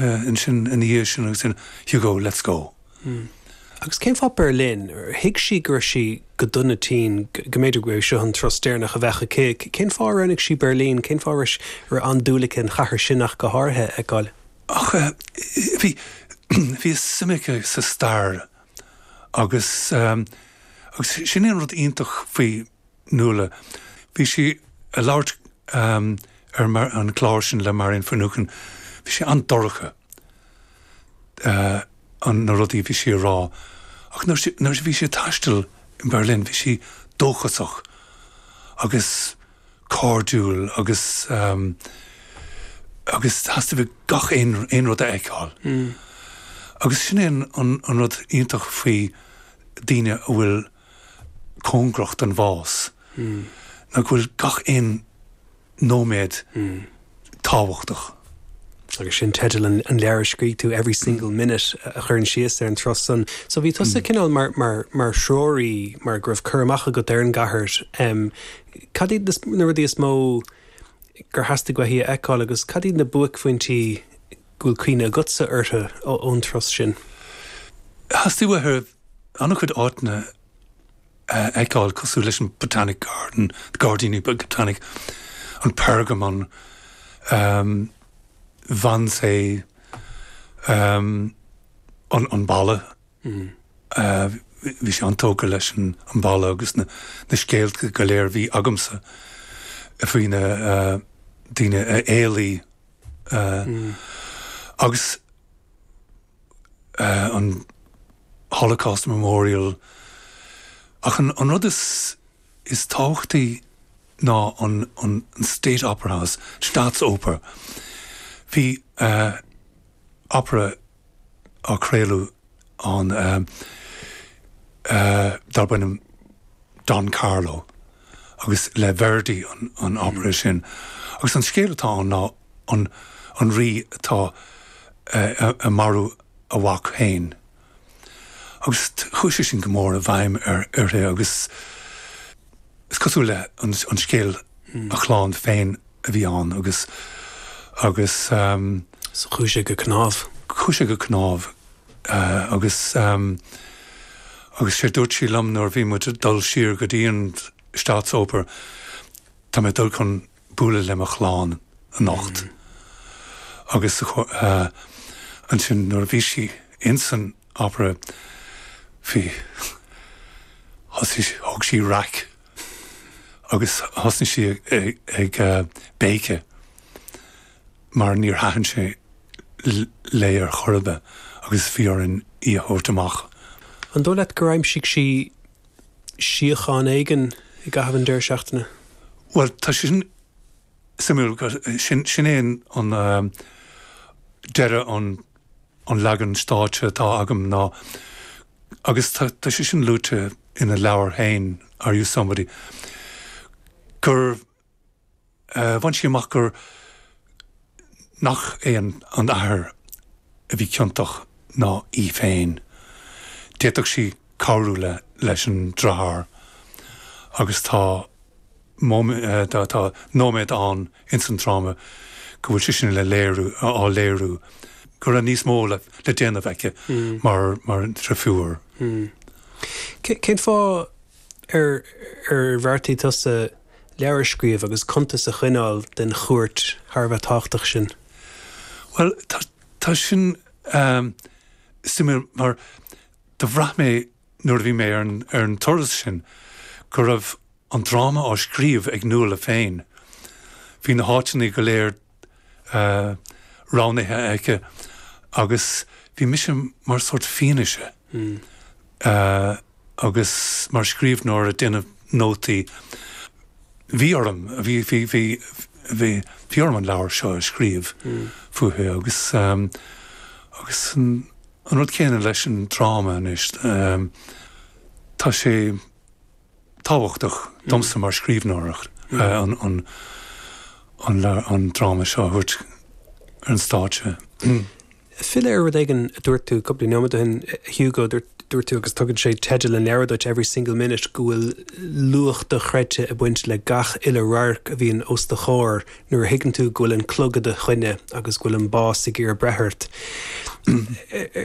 ansin ina dhiaidh sin agus sin, Hugo, let's go. Agus cén fáth Berlin? Thuig sí go raibh sí go dona tinn, go mb'fhéidir go raibh seo an turas deireanach a bheadh aici. Cén fáth ar roghnaigh sí Berlin? Cén fáth a raibh an-dúil aici an chathair sin ach go háirithe a fheiceáil? Ach bhí, bhí suim aici sa stair agus, agus sin é an rud iontach faoi Nuala. Bhí sí ag labhairt ar an chlár sin le Marian Finucane, bhí sé an-dorcha an na rudaí a bhí sí a rá ach nuair a bhí sí ag taisteal in Berlin bhí sí dóchasach agus cairdiúil agus agus theastaigh uaithi gach aon aon rud a fheiceáil. Agus sin é an an rud iontach faoi daoine a bhfuil cóngarach don bhás, ná go bhfuil gach aon nóiméad tábhachtach. Agus sin teideal an leabhair a scrígh tú, Every Single Minute, a chuireann síos ar an turas san. So bhí tusa cineál mar, mar, mar threoraí, mar go raibh cur amach agat ar an gcathair. Cad iad na rudaí is mó gur theastaigh uaithi a fheiceáil agus cad iad na buaicphointí go bhfuil cuimhne agatsa orthu ón turas sin? Theastaigh uaithi an-chuid áiteanna a fheiceáil cosúil leis an Botanic Garden, Gairdíní Botanic, an Pergamon, Wannsee, an an balla. Bhí sí an-tógtha leis an balla agus na scéalta go léir a bhí agamsa faoi na daoine a éalaigh agus an Holocaust Memorial. Ach an rud is is tábhachtaí ná an an State Opera House, Staatsoper. Bhí opera á craoladh ann darb ainm Don Carlo agus le Verdi an opera sin. Agus an scéal atá ann ná an an rí atá ag marú a mhac féin. Agus chuaigh sé sin go mór i bhfeidhm uirthi agus is cosúil le an scéal a chlann féin a bhí ann agus agus. So chuaigh sé go cnámh. Chuaigh sé go cnámh agus agus sé dúirt sí liom nuair a bhí muid ag dul siar go dtí an Staatsoper, tá mé ag dul chun bualadh le mo chlann anocht. Agus ansin nuair a bhí sí ins an opera bhí, thosaigh, thóg sí raic agus thosnaigh sí ag béiceadh mar níor thaitin sé léi ar chor ar bith agus bhí orainn í a thabhairt amach. An dóigh leat gur aimsigh sí síocháin éigin i gcaitheamh an deireadh seachtaine? Bhuel, tá sé sin suimiúil, sin, sin é an deireadh an, an leagan stáitse atá agam ná, agus tá, tá sé sin luaite ina leabhar féin, Are You Somebody, gur bhain sí amach gur, nach é an t-athair a bhí ciontach ná í féin. D'fhéadfadh sí cabhrú le leis an deartháir agus tá tá nóiméad ann ins an dráma go bhfuil sé sin le léiriú, á léiriú go raibh níos mó le déanamh aici mar mar dhrifiúr. Cén fáth ar ar bheartaigh tusa leabhar a scríobh agus cuntas a choinneáil den chuairt thar a bheith tábhachtach sin? Bhuel, tá sin suimiúil mar do bhraith mé nuair a bhí mé ar an turas sin go raibh an dráma á scríobh ag Nuala féin. Bhí na háiteanna go léir roghnaithe aici agus bhí mise mar sórt fianaise agus mar scríbhneoir ag déanamh nótaí. Bhí orm, bhí, bhí, bhí, bhí, bhí orm an leabhar seo a scríobh fúithi agus agus an rud céanna leis an dráma anois. Tá sé tábhachtach domsa mar scríbhneoir an an dráma seo a thabhairt ar an stáitse. Filleadh ar rud éigin a dúirt tú cúpla nóiméad ó shin, a Hugo, dúirt tú, agus tugann sé teideal an leabhair duit, Every Single Minute, go bhfuil luach dochreidte ag baint le gach uile radharc a bhíonn os do chomhair nuair a thuigeann tú go bhfuil an clog i do choinne agus go bhfuil an bás ag iarraidh breith ort.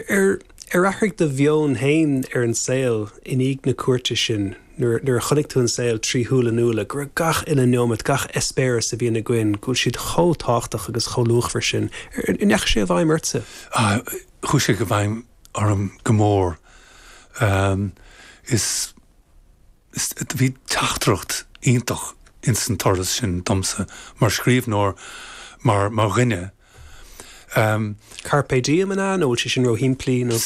Ar ar athraigh do mheon féin ar an saol i ndiaidh na cuairte sin? Nuair a chonaic tú an saol trí shúile Nuala, go raibh gach uile neomat, gach eispéireas a bhíonn againn, go bhfuil siad chomh tábhachtach agus chomh luachmhar sin. An ndeachaigh sé i bhfeidhm ortsa? Chuaigh sé i bhfeidhm orm go mór. Is, is, bhí teachtaireacht iontach ins an turas sin domsa, mar scríbhneoir, mar, mar dhuine. Carpe diem an ea? Nó bhfuil sé sin róshimplí? Nó.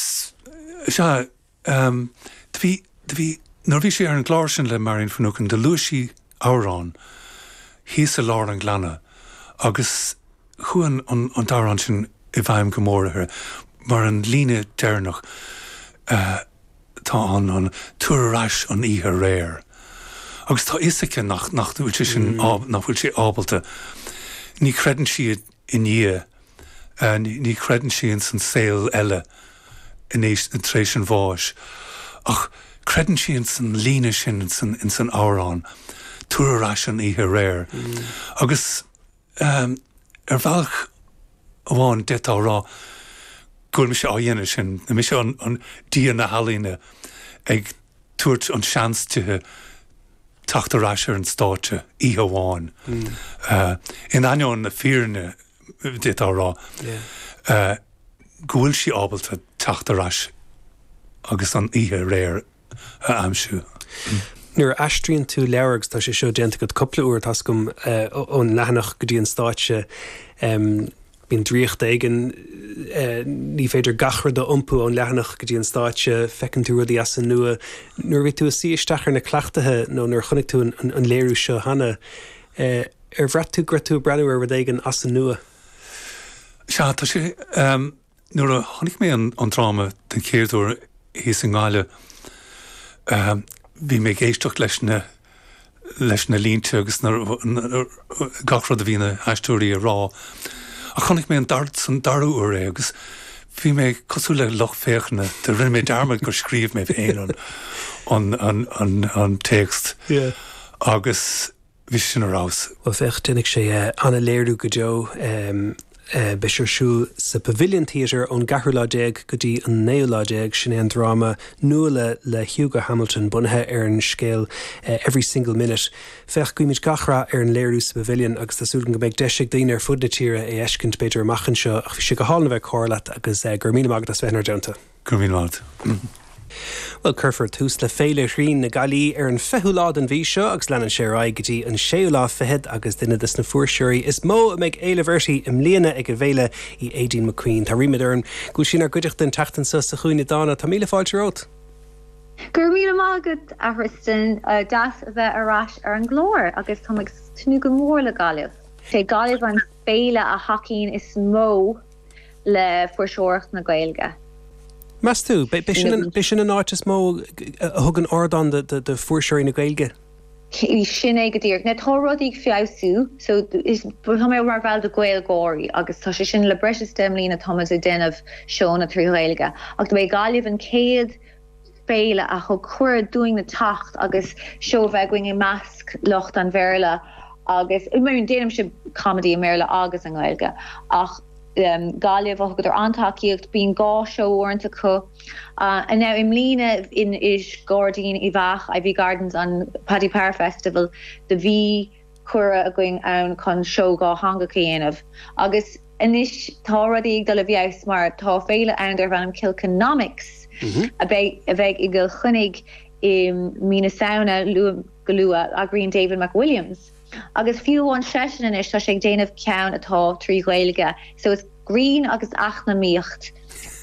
Sea. Do bhí, do bhí, nuair a bhí sí ar an gclár sin le Marian Finucane, do luaigh sí amhrán thíos i lár an ghleanna agus chuaigh an, an, an t-amhrán sin i bhfeidhm go mór uirthi mar an líne deireanach atá ann, an, tabhair ar ais an oíche aréir. Agus tá fhios aici nach, nach bhfuil sé sin, nach bhfuil sé ábalta, ní chreideann sí i nDia. Ní chreideann sí ins an saol eile tar éis an bháis, ach creideann sí ins an líne sin ins an amhrán, Tabhair ar ais an oíche aréir. Agus ar bhealach amháin d'fhéadfá a rá go bhfuil mise á dhéanamh sin, mise an Dia na healaíne ag tabhairt an seans dithe teacht ar ais ar an stáitse oíche amháin. In ainneoin na fírinne, d'fhéadfá a rá, go bhfuil sí ábalta teacht ar ais agus an oíche aréir a aimsiú. Nuair a aistríonn tú leabhar, agus tá sé seo déanta agat cúpla uair, tá's agam, ón leathanach go dtí an stáitse, Bíonn draíocht éigin, ní féidir gach rud a iompú ón leathanach go dtí an stáitse, feiceann tú rudaí as an nua. Nuair a bhí tú ag suí isteach ar na cleachtaithe nó nuair a chonaic tú an léiriú seo cheana, ar bhraith tú go raibh tú ag breathnú ar rud éigin as an nua? Sea, tá sé. Nuair a chonaic mé an dráma den chéad uair thíos i nGaillimh, bhí mé ag éisteacht leis na leis na línte agus na gach rud a bhí na haisteoirí a rá. Ach chonaic mé an dar san dara huair é agus bhí mé cosúil le lucht féachana, do rinne mé dearmad gur scríobh mé féin an an an an an téacs agus Bhí sé sin ar fheabhas. Bhuel féach, déanfaidh sé an-léiriú go deo. Beidh sé ar siúl sa Pavilion Theatre ón gceathrú lá déag go dtí an naoú lá déag. Sin é an dráma Nuala le Hugo Hamilton, bunaithe ar an scéal Every Single Minute. Féach, guímid gach rath ar an léiriú sa Pavilion agus tá súil agam go mbeidh deis ag daoine ar fud na tíre é a fheiscint b'fhéidir amach anseo. Ach bhí sé go hálainn a bheith ag comhrá leat agus go raibh míle maith agat as bheith inár dteannta. Go raibh míle maith agat. Bhuel, cuirfear tús le Féile Ghrinn na Gaillimhe ar an 20ú lá den mhí seo agus leanann sé ar aghaidh go dtí an séú lá fichead agus duine des na fuirseoirí is mó a mbeidh éileamh uirthi i mbliana ag an bhféile í Aideen McQueen. Tá ríméad orm go bhfuil sí inár gcuideachta an tseachtain seo sa Chúinne Dána. Tá míle fáilte romhat. Go raibh míle maith agat, a Thristan. Deas a bheith ar ais ar an gclár agus táim ag tnúth go mór le Gaillimh. Sé Gaillimh an féile a thacaíonn is mó le fuirseoireacht na Gaeilge. Meas tú, b'é sin an áit is mó a thugann ardán do fuirseoirí na Gaeilge? Sin é go díreach. Now tá rudaí ag feabhsú, so tá mé mar bhall de GaelGÁIRÍ agus tá sé sin le breis is 10 mbliana táimid ag déanamh seónna trí Ghaeilge ach do b'é Gaillimh an chéad féile a thug cuireadh dúinn teacht agus seó a bheith againn i measc lucht an Bhéarla agus I mean déanaimse comedy i mBéarla agus i nGaeilge ach Gaillimh thugadar an-tacaíocht, bíonn dhá seó uaireanta acu. Now i mbliana in i Gairdín Uíbh Eachach, Iveagh Gardens an Paddy Power Festival do bhí cuireadh againn ann chun seó dhátheangach a dhéanamh agus anois tá rudaí ag dul i bhfeabhas mar tá féile ann darb ainm Kilkenomics a bheidh a bheidh i gCill Chainnigh i mí na Samhna go luath, eagraíonn David McWilliams. Agus fiú amháin seisean anois tá sé ag déanamh ceann atá trí Ghaeilge so is grinn agus eacnamaíocht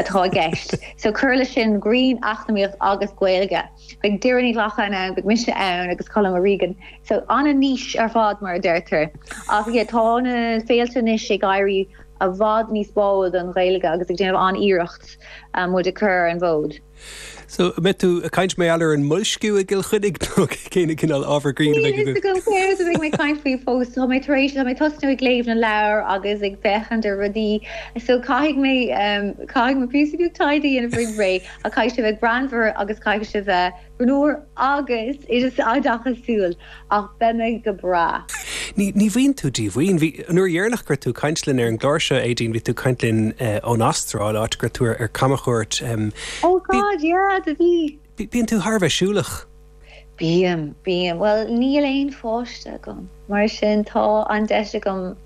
atá i gceist. So cuir leis sin grinn, eacnamaíocht agus Gaeilge. Beidh Doireann Ní Ghlacáin ann, beidh mise ann agus Colm O'Regan. So an-niche ar fad mar a deirtear. Ach yeah tá na féilte anois ag éirí. i bhfad níos báúil don Ghaeilge agus ag déanamh an-iarracht muid a chur ar an bhfód. So, an mbeidh tú ag caint mar gheall ar an mboilsciú i gCill Chainnigh nó cén cineál ábhar grinn a bheidh agat? Níl a fhios agam céard a bheidh mé ag caint faoi fós. Tá mé tar éis, tá mé ag tosnú ag léamh na leabhar agus ag féachaint ar rudaí so caithfidh mé, caithfidh mé píosa beag taighde a dhéanamh roimh ré ach caithfidh sé bheith greannmhar agus caithfidh sé bheith greannmhar agus oideachasúil ach beidh mé go breá. Ní, ní bhíonn tú díomhaoin. Bhí, an uair dheireanach go raibh tú ag caint linn ar an gclár seo, Aedín, bhí tú ag caint linn ón Astráil, áit go raibh tú ar, ar camchuairt. Oh God, yeah, do bhí. Bíonn tú thar a bheith siúlach. Bím, bím. Bhuel, níl aon pháiste agam, mar sin tá an deis agam,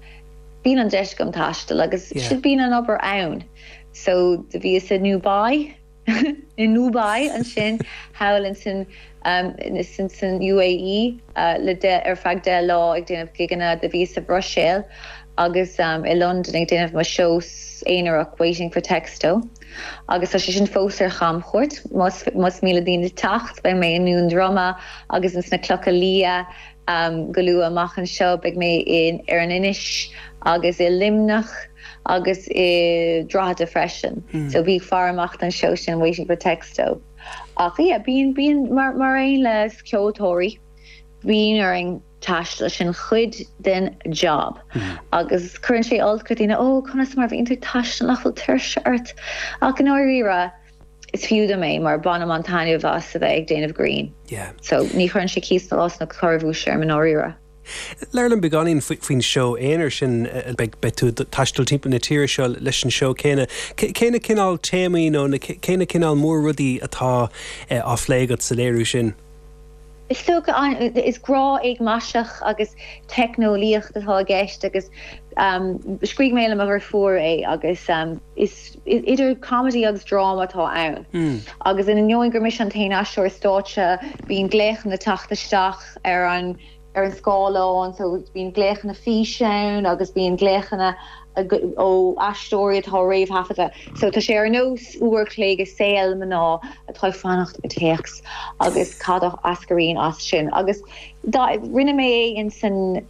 bíonn an deis agam taisteal agus yeah. bíonn an obair ann. So, do bhíos i nDubai, i nDubai ansin thall insan san UAE le ar feadh 10 lá ag déanamh gigeanna. Do bhíos sa Bhruiséil agus i Londain ag déanamh mo seó aonarach Waiting for Texto agus tá sé sin fós ar chamchuairt. Más más mian le daoine teacht beidh mé i nDún Droma agus ins na Clocha Liath go luath amach anseo. Beidh mé in ar an Inis agus i Luimneach. agus i Drogheda freisin. So bí ag faire amach don seó sin Waiting for Texto. Ach yeah, bíonn, bíonn, mar, mar aon le ceoltóirí, bíonn orainn taisteal, sin cuid den job. Agus cuireann sé olc ar daoine, oh, conas mar a bhíonn tú ag taisteal nach bhfuil tuirse ort? Ach i ndáiríre, is fiú dom é mar bainim an-taitneamh as a bheith ag déanamh grinn. Yeah. So ní chuireann sé cíos nó corrabhuais orm i ndáiríre. Labhair liom beagáinín faoin seó aonair sin. Beidh tú ag taisteal timpeall na tíre seo leis an seó céanna. Cé na cineál téamaí nó cé na cineál mór-rudaí atá á phlé agat sa léiriú sin? Is dócha, is grá éagmaiseach agus teicneolaíocht atá i gceist agus scrígh mé le mo dheirfiúr é agus is idir comedy agus dráma atá ann. Agus in ainneoin gur mise an t-aon aisteoir stáitse, bíonn glaochanna ag teacht isteach ar an ar an scáileán so bíonn glaochanna físe ann agus bíonn glaochanna ó aisteoirí atá réamhthaifeadta. So tá sé ar nós uair a chloig i saol mná atá ag fanacht ar téacs agus cad a eascraíonn as sin. Agus rinne mé é in san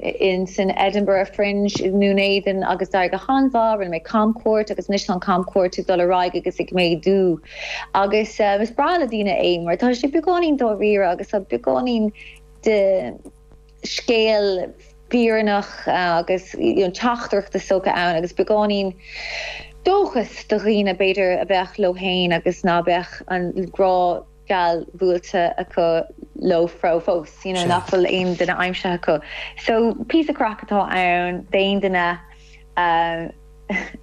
in san Edinburgh Fringe i nDún Éideann agus d'éirigh go han-mhaith, rinne mé camchuairt agus anois tá an camchuairt ag dul ar aghaidh agus ag méadú. Agus is breá le daoine é mar tá sé beagáinín dáiríre agus tá beagáinín de scéal fírinneach agus teachtaireacht is dócha ann agus beagáinín dóchas do dhaoine b'fhéidir a bheadh leo féin agus ná beadh an grá geal buailte acu leo fós, you know, nach bhfuil aon duine aimsithe acu. So píosa craic atá ann d'aon duine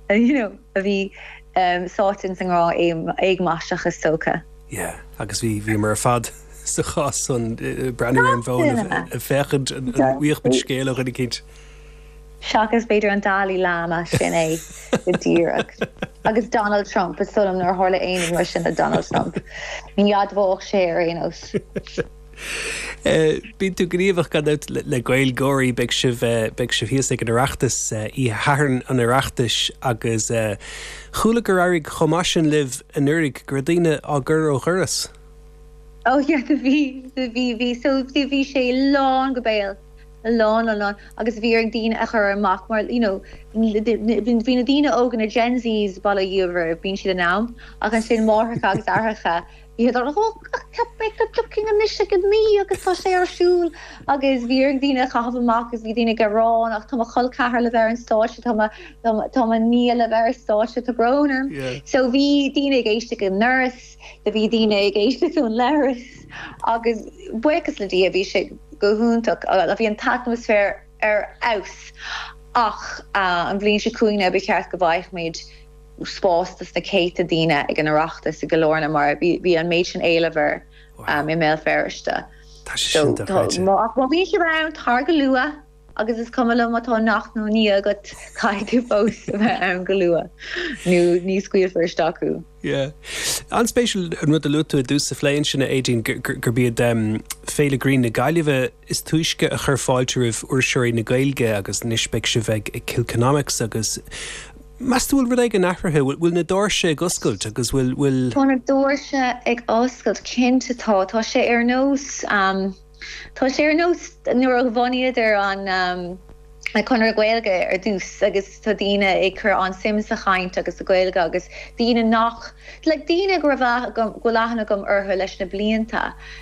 you know, a bhí sáite ins an ngrá éagmaiseach is dócha. Yeah, agus bhí, bhíomar ar fad sa chás san, breathnú ar an bhfón ag féachaint an bhfaigheadh muid scéal ó dhuine eicínt. Seachas b'fhéidir an Dalai Lama, sin é go díreach. Agus Donald Trump, is dóigh liom nár tharla aon rud mar sin le Donald Trump. Ní admhódh sé ar aon nós. Bíonn tú gníomhach gan dabht le GaelGáirí, beidh sibh, beidh sibh thíos ag an Oireachtas oíche Shathairn an Oireachtais agus chuala gur éirigh chomh maith sin libh anuraidh go raibh daoine á gcur ó dhoras. Oh yeah, do bhí, do bhí, bhí, so bhí sé lán go béal. lán lán lán agus bhí orainn daoine a chur amach mar you know bhí na daoine óga na Gen Zs bail ó Dhia orthu bíonn siad in am ach ansin máithreacha agus aithreacha bhí siad oh cheap mé go dtiocfainn anois ag a naoi agus tá sé ar siúl agus bhí orainn daoine a chaitheamh amach agus bhí daoine ag gearán ach tá mo chol ceathar le bheith ar an stáitse tá mo tá mo nia le bheith ar stáitse tá brón orm so bhí daoine ag éisteacht ón ndoras Do bhí daoine ag éisteacht ón leithreas agus buíochas le Dia bhí sé go hiontach. Bhí an t-atmaisféar ar fheabhas ach an bhliain seo chugainn ba cheart go bhfaighimid spás dos na céadta daoine ag an Oireachtas i gCill Airne mar bhí an méid sin éilimh air i mBéal Feirste. Tá sé sin dochreidte. Ach má bhíonn sibh ann, tar go luath. Agus is cuma liom má tá neacht nó nia agat, caithfidh tú fós a bheith ann go luath nó ní scaoilfear isteach thú. Yeah. An-spéisiúil an rud a luaigh tú i dtús an phlé ansin, a Aedín, gurb iad Féile Grinn na Gaillimhe is túisce a chuir fáilte roimh fhuirseoirí na Gaeilge agus anois beidh sibh ag Kilkenomics agus meas tú bhfuil rud éigin athraithe? Bhfuil na doirse ag oscailt agus bhfuil, bhfuil. Tá na doirse ag oscailt, cinnte tá. Tá sé ar nós. Tá sé ar nós nuair a bhunaíodar an. Conradh Gaeilge ar dtús agus tá daoine ag cur an-suim sa chaint agus sa Ghaeilge agus daoine nach, like daoine go raibh, go bhfuil aithne agam orthu leis na blianta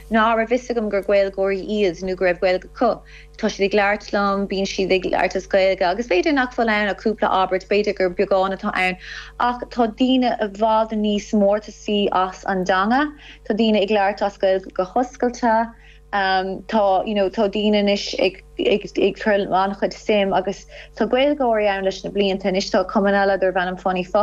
ná raibh fhios agam gur Gaeilgeoirí iad nó go raibh Gaeilge acu. Tá siad ag labhairt liom, bíonn siad ag labhairt as Gaeilge agus b'fhéidir nach bhfuil ann ach cúpla abairt, b'fhéidir gur beagán atá ann ach tá daoine i bhfad níos mórtasaí as an dteanga, tá daoine ag labhairt as Gaeilge go hoscailte. Tá, you know, tá daoine anois ag, ag, ag cur an-chuid suim agus tá Gaeilgeoirí ann leis na blianta. Anois tá cumann eile darb ainm Funny Focal.